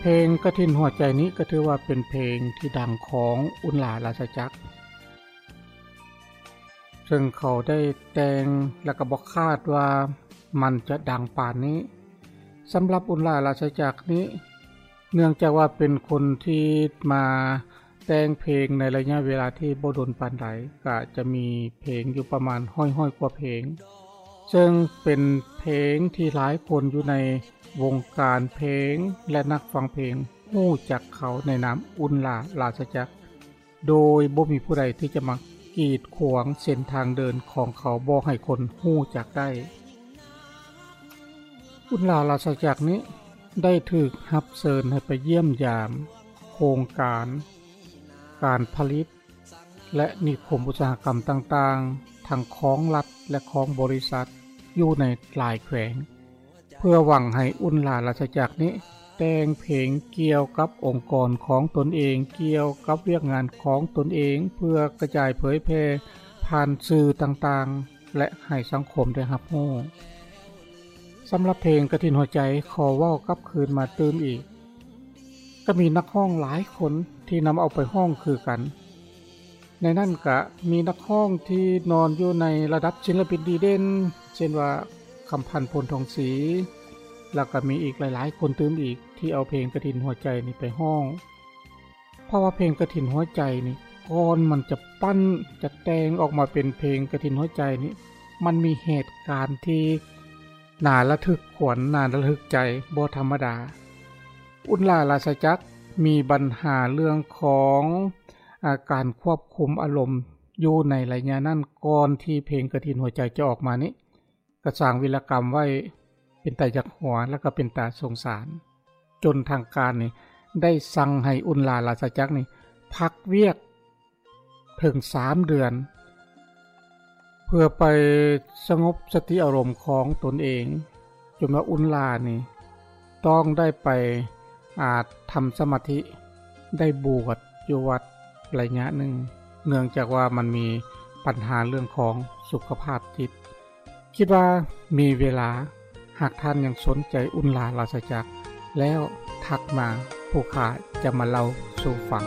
ເພງກະຖິນຫົວໃຈນີ້ກໍຖືວ່າເປັນເພງທີ່ດັງຂອງອຸນລາລາຊະຈັກ ເຊິ່ງເຂົາໄດ້ແຕ່ງ ແລະກໍບໍ່ຄາດວ່າມັນຈະດັງປານນີ້. ສຳລັບອຸນລາລາຊະຈັກນີ້ ເນື່ອງຈາກວ່າເປັນຄົນທີ່ມາແຕ່ງເພງໃນໄລຍະເວລາທີ່ບໍ່ດົນປານໃດ ກະຈະມີເພງຢູ່ປະມານຮ້ອຍໆກວ່າເພງ ເຊິ່ງເປັນເພງທີ່ຫຼາຍຄົນຢູ່ໃນວົງການເພງ ແລະນັກຟັງເພງຮູ້ຈັກເຂົາໃນນາມອຸນລາລາຊະຈັກ ໂດຍບໍ່ມີຜູ້ໃດທີ່ຈະມາກີດຂວາງເສັ້ນທາງເດີນຂອງເຂົາບໍ່ໃຫ້ຄົນຮູ້ຈັກໄດ້. ອຸນລາລາຊະຈັກນີ້ໄດ້ຖືກຮັບເຊີນໃຫ້ໄປຢ້ຽມຢາມໂຄງການ ການຜະລິດ ແລະນິຄົມອຸດສາຫະກຳຕ່າງໆ ທັງຂອງລັດ ແລະຂອງບໍລິສັດ ຢູ່ໃນຫຼາຍແຂວງ ເພື່ອຫວັງໃຫ້ອຸນລາລາຊະຈັກນີ້ແຕ່ງເພງກ່ຽວກັບອົງກອນຂອງຕົນເອງ, ກ່ຽວກັບວຽກງານຂອງຕົນເອງ ເພື່ອກະຈາຍເຜີຍແຜ່ຜ່ານສື່ຕ່າງໆ ແລະໃຫ້ສັງຄົມໄດ້ຮັບຮູ້. ສຳລັບເພງກະຖິນຫົວໃຈ ຂໍເວົ້າກັບຄືນມາຕື່ມອີກ ກໍມີນັກຮ້ອງຫຼາຍຄົນທີ່ນຳເອົາໄປຮ້ອງຄືກັນ. ໃນນັ້ນກະມີນັກຮ້ອງທີ່ນອນຢູ່ໃນລະດັບສິນລະປິນດີເດັ່ນ ເຊັ່ນວ່າ ຄຳພັນ ພົນທອງສີ ແລ້ວກະມີອີກຫຼາຍໆຄົນຕື່ມອີກ ທີ່ເອົາເພງກະຖິນຫົວໃຈນີ້ໄປຮ້ອງ. ເພາະວ່າເພງກະຖິນຫົວໃຈນີ້ ກ່ອນມັນຈະປັ້ນ ຈະແຕ່ງອອກມາເປັນເພງກະຖິນຫົວໃຈນີ້ ມັນມີເຫດການທີ່ໜ້າລະທຶກຂວັນ ໜ້າລະທຶກໃຈບໍ່ທຳມະດາ. ອຸນລາລາຊະຈັກມີບັນຫາເລື່ອງຂອງ ອາ ການຄວບຄຸມອາລົມຢູ່ໃນໄລຍະນັ້ນ ກ່ອນທີ່ເພງກະຖິນຫົວໃຈຈະອອກມານີ້ ກະສ້າງວິລະກຳໄວ້ເປັນຕາຢາກຫົວ ແລະກະເປັນຕາສົງສານ ຈົນທາງການນີ້ໄດ້ສັ່ງໃຫ້ອຸນລາລາຊະຈັກນີ້ພັກວຽກເຖິງສາມເດືອນ ເພື່ອໄປສະຫງົບສະຕິອາລົມຂອງຕົນເອງ ຈົນວ່າອຸນລານີ້ຕ້ອງໄດ້ໄປ ອາ ທຳສະມາທິ ໄດ້ບວດຢູ່ວັດໄລຍະໜຶ່ງ ເນື່ອງຈາກວ່າມັນມີບັນຫາເລື່ອງຂອງສຸຂະພາບຈິດ. ຄິດວ່າມີເວລາ ຫາກທ່ານຍັງສົນໃຈອຸນລາລາຊະຈັກ ແລ້ວທັກມາ ຜູ້ຂ້າຈະມາເລົ່າສູ່ຟັງ.